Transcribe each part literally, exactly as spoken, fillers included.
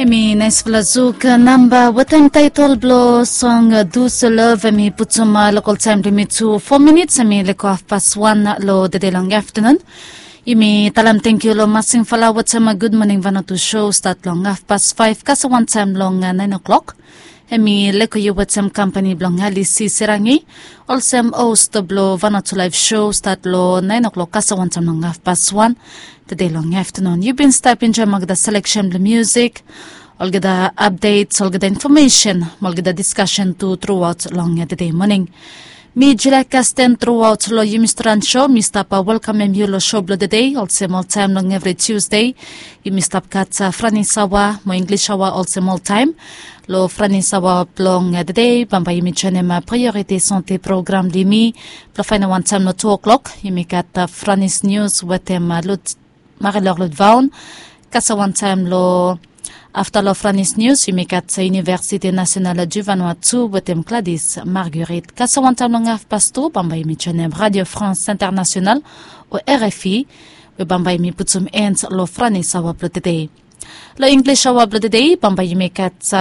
Hemi naesfala zuk namba wetem taetol blong song, Douce Love. Hemi putum lokol taem blong yumi tu fo minits, hemi lego hafpas wan long tede long aftenun. Yumi talem tangkiu long Masing Fala wetem gud moning Vanuatu show, stat long hafpas faef kasem wantaem long naen o'clock. Hemi lego yu wetem kampani blong Alice Serangi, olsem host blong Vanuatu Live Show, stat long naen o'clock kasem wantaem long hafpas wan tede long aftenun. Yu bin stap enjoem olgeta seleksen blong musik, olgeta updates, olgeta infomesen, olgeta diskasen tu truaot long tede moning. Mi Julia Kasten, truaot long yumi storan show mi stap welkamem yu long show blong tede, olsem oltaem long evri Tuesday. Yumi stap gat Franis aoa mo Inglis aoa olsem oltaem. Long Franis aoa blong tede bambae yumi joenem Priorite Sante program blong yumi. Blong faenem wantaem long tu o'clock yumi gat Franis nius wetem Lut Marie-Laure Lutvaon. Kasem wantaem long afta long Franis nius yumi gat Université Nationale du Vanuatu wetem Gladys Marguerite. Kasem wantaem long hafpas tu bambae yumi joenem Radio France Internationale o R F I, we bambae yumi putum end long Franis aoa blong tede. Long Inglis aoa blong tede bambae yumi gat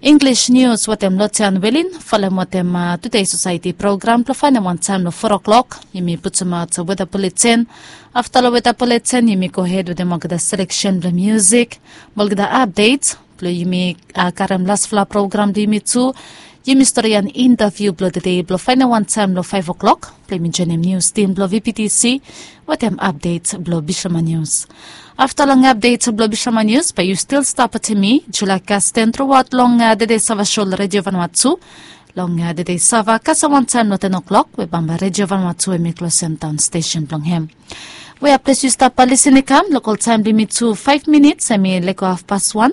Inglis nius wetem Lotian Welin, folem wetem Today Society program blong faenem wantaem long fo o'clock. Yumi putumaot weta buletin. Afta long weta buletin yumi gohed wetem olgeta seleksen blong musik mo olgeta update blong yumi karem lasfala program blong yumi tu. Yumi storian interviu blong tede blong faenem wantaem long faef o'clock blong yumi joenem nius tim blong V P T C wetem update blong Bishlama Nius. Afta long update blong Bishlama Nius bae yu stil stap wetem mi Julia Kasten truaot long tede sava show long Radio Vanuatu. Long tede sava kasem wantaem long ten o'clock we bambae Radio Vanuatu hemi klosem daon stesen blong hem. Wea ples yu stap lisin i kam, lokol taem blong yumi tu faef minits hemi lego hafpas wan.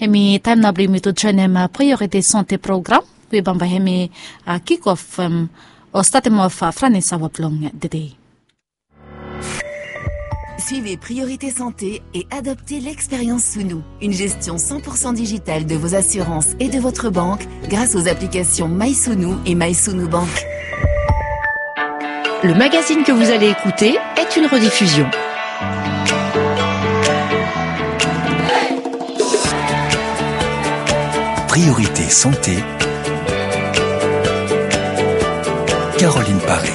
Hemi taem nao blong yumi tu joenem Priorite Sante program we bambae hemi kikof o statem of Franis aoa blong tede. Suivez Priorité Santé et adoptez l'expérience Sounou, une gestion cent pour cent digitale de vos assurances et de votre banque grâce aux applications MySounou et MySounou Bank. Le magazine que vous allez écouter est une rediffusion. Priorité Santé. Caroline Paré.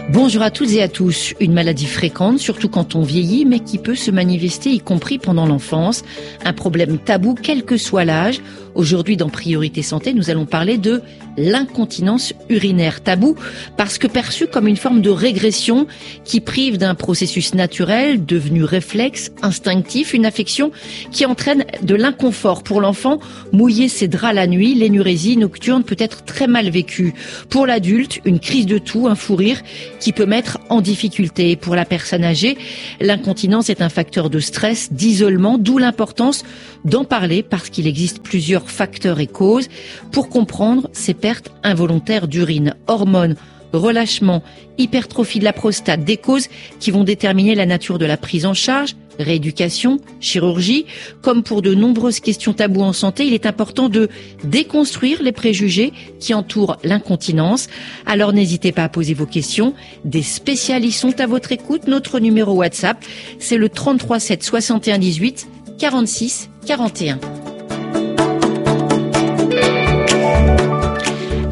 Bonjour à toutes et à tous. Une maladie fréquente, surtout quand on vieillit, mais qui peut se manifester, y compris pendant l'enfance. Un problème tabou, quel que soit l'âge. Aujourd'hui, dans Priorité Santé, nous allons parler de l'incontinence urinaire. Tabou, parce que perçue comme une forme de régression qui prive d'un processus naturel, devenu réflexe, instinctif, une affection qui entraîne de l'inconfort. Pour l'enfant, mouiller ses draps la nuit, l'énurésie nocturne peut être très mal vécue. Pour l'adulte, une crise de toux, un fou rire qui peut mettre en difficulté. Pour la personne âgée, l'incontinence est un facteur de stress, d'isolement, d'où l'importance d'en parler parce qu'il existe plusieurs facteurs et causes pour comprendre ces pertes involontaires d'urine. Hormones, relâchement, hypertrophie de la prostate, des causes qui vont déterminer la nature de la prise en charge, rééducation, chirurgie. Comme pour de nombreuses questions tabous en santé, il est important de déconstruire les préjugés qui entourent l'incontinence. Alors n'hésitez pas à poser vos questions. Des spécialistes sont à votre écoute. Notre numéro WhatsApp, c'est le trente-trois sept soixante et un dix-huit quarante-six quarante et un.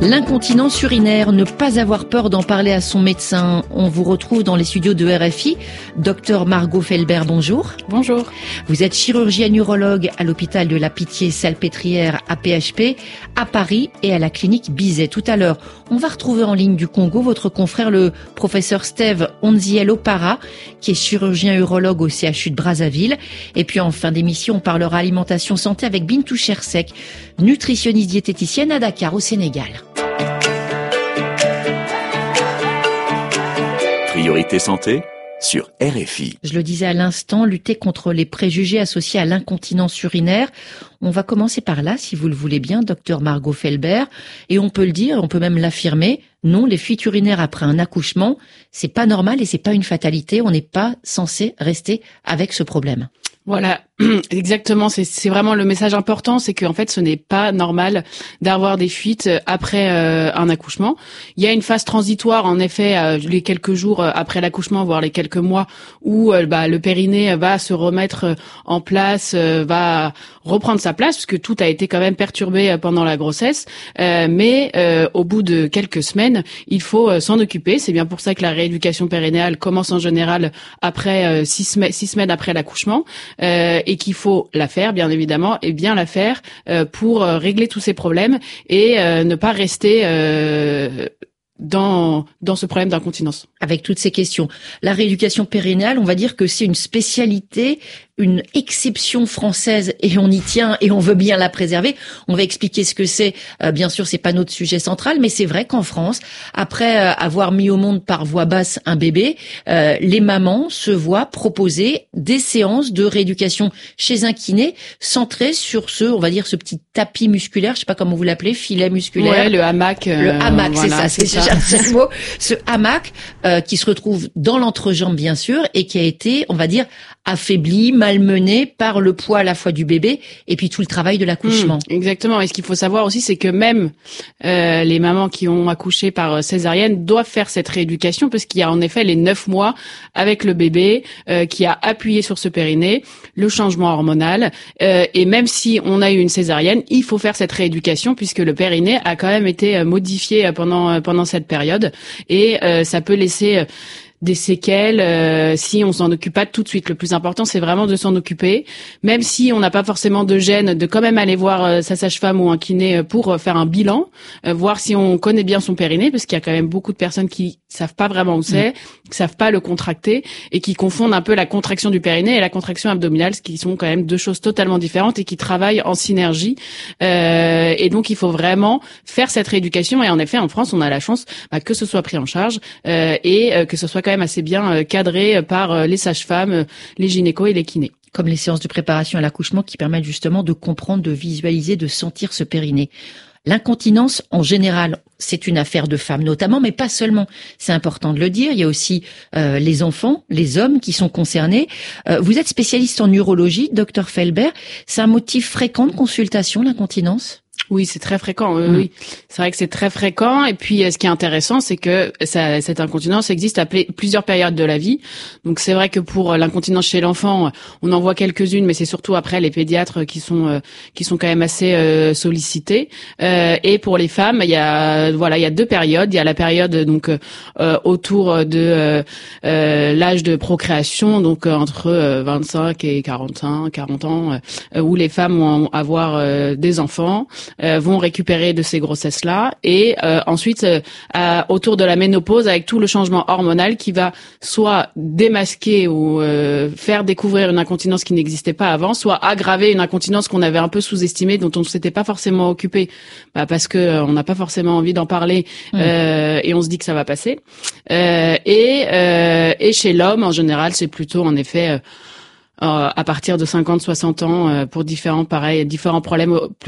L'incontinence urinaire, ne pas avoir peur d'en parler à son médecin. On vous retrouve dans les studios de R F I. Docteur Margot Felbert, bonjour. Bonjour. Vous êtes chirurgienne urologue à l'hôpital de la Pitié-Salpêtrière à P H P, à Paris et à la clinique Bizet. Tout à l'heure, on va retrouver en ligne du Congo votre confrère, le professeur Steve Onzielo Para, qui est chirurgien urologue au C H U de Brazzaville. Et puis en fin d'émission, on parlera alimentation santé avec Bintou Chersek, nutritionniste diététicienne à Dakar, au Sénégal. Priorité Santé sur R F I. Je le disais à l'instant, lutter contre les préjugés associés à l'incontinence urinaire. On va commencer par là, si vous le voulez bien, docteur Margot Felbert. Et on peut le dire, on peut même l'affirmer, non, les fuites urinaires après un accouchement, c'est pas normal et c'est pas une fatalité. On n'est pas censé rester avec ce problème. Voilà, Exactement, c'est c'est vraiment le message important, c'est qu'en fait, ce n'est pas normal d'avoir des fuites, euh, après, euh, un accouchement. Il y a une phase transitoire, en effet, euh, les quelques jours, euh, après l'accouchement, voire les quelques mois, où, euh, bah, le périnée va se remettre, euh, en place, euh, va reprendre sa place, puisque tout a été quand même perturbé, euh, pendant la grossesse. Euh, mais, euh, au bout de quelques semaines, il faut, euh, s'en occuper. C'est bien pour ça que la rééducation périnéale commence en général après, euh, six, semaines- six semaines après l'accouchement, euh, et qu'il faut la faire, bien évidemment, et bien la faire, euh, pour, euh, régler tous ces problèmes et, euh, ne pas rester, euh, dans, dans ce problème d'incontinence. Avec toutes ces questions. La rééducation périnéale, on va dire que c'est une spécialité, une exception française, et on y tient et on veut bien la préserver. On va expliquer ce que c'est. Euh, bien sûr, c'est pas notre sujet central, mais c'est vrai qu'en France, après, euh, avoir mis au monde par voie basse un bébé, euh, les mamans se voient proposer des séances de rééducation chez un kiné centrées sur ce, on va dire, ce petit tapis musculaire, je sais pas comment vous l'appelez, filet musculaire. Ouais, le hamac. Le euh, hamac, c'est voilà, ça, c'est c'est ça. Je cherchais le mot. Ce hamac, euh, qui se retrouve dans l'entrejambe, bien sûr, et qui a été, on va dire, affaibli, malmené par le poids à la fois du bébé et puis tout le travail de l'accouchement. Hmm, exactement. Et ce qu'il faut savoir aussi, c'est que même, euh, les mamans qui ont accouché par, euh, césarienne doivent faire cette rééducation, parce qu'il y a en effet les neuf mois avec le bébé, euh, qui a appuyé sur ce périnée, le changement hormonal, euh, et même si on a eu une césarienne, il faut faire cette rééducation, puisque le périnée a quand même été, euh, modifié, euh, pendant, euh, pendant cette période, et, euh, ça peut laisser, euh, des séquelles, euh, si on s'en occupe pas tout de suite. Le plus important, c'est vraiment de s'en occuper. Même si on n'a pas forcément de gêne, de quand même aller voir, euh, sa sage-femme ou un kiné, euh, pour, euh, faire un bilan, euh, voir si on connaît bien son périnée, parce qu'il y a quand même beaucoup de personnes qui savent pas vraiment où c'est, qui savent pas le contracter et qui confondent un peu la contraction du périnée et la contraction abdominale, ce qui sont quand même deux choses totalement différentes et qui travaillent en synergie. Euh, et donc, il faut vraiment faire cette rééducation. Et en effet, en France, on a la chance, bah, que ce soit pris en charge, euh, et, euh, que ce soit quand même assez bien, euh, cadré, euh, par, euh, les sages-femmes, euh, les gynécos et les kinés. Comme les séances de préparation à l'accouchement qui permettent justement de comprendre, de visualiser, de sentir ce périnée. L'incontinence, en général, c'est une affaire de femmes notamment, mais pas seulement. C'est important de le dire. Il y a aussi, euh, les enfants, les hommes qui sont concernés. Euh, vous êtes spécialiste en urologie, docteur Felbert. C'est un motif fréquent de consultation, l'incontinence ? Oui, c'est très fréquent. Oui, oui. C'est vrai que c'est très fréquent. Et puis, euh, ce qui est intéressant, c'est que ça- cette incontinence existe à pl- plusieurs périodes de la vie. Donc, c'est vrai que pour, euh, l'incontinence chez l'enfant, euh, on en voit quelques-unes, mais c'est surtout après les pédiatres qui sont, euh, qui sont quand même assez, euh, sollicités. Euh, et pour les femmes, il y a, voilà, il y a deux périodes. Il y a la période donc, euh, euh, autour de, euh, euh, l'âge de procréation, donc, euh, entre, euh, vingt-cinq et quarante-cinq, quarante ans, euh, euh, où les femmes vont avoir, euh, des enfants, euh, vont récupérer de ces grossesses-là, et, euh, ensuite, euh, à- autour de la ménopause, avec tout le changement hormonal qui va soit démasquer ou, euh, faire découvrir une incontinence qui n'existait pas avant, soit aggraver une incontinence qu'on avait un peu sous-estimée, dont on ne s'était pas forcément occupé, bah, parce que, euh, on n'a pas forcément envie d'en parler, euh, et on se dit que ça va passer. Euh, et, euh, et chez l'homme, en général, c'est plutôt en effet, euh, euh, à partir de cinquante, soixante ans, euh, pour différents, pareil, différents problèmes, euh,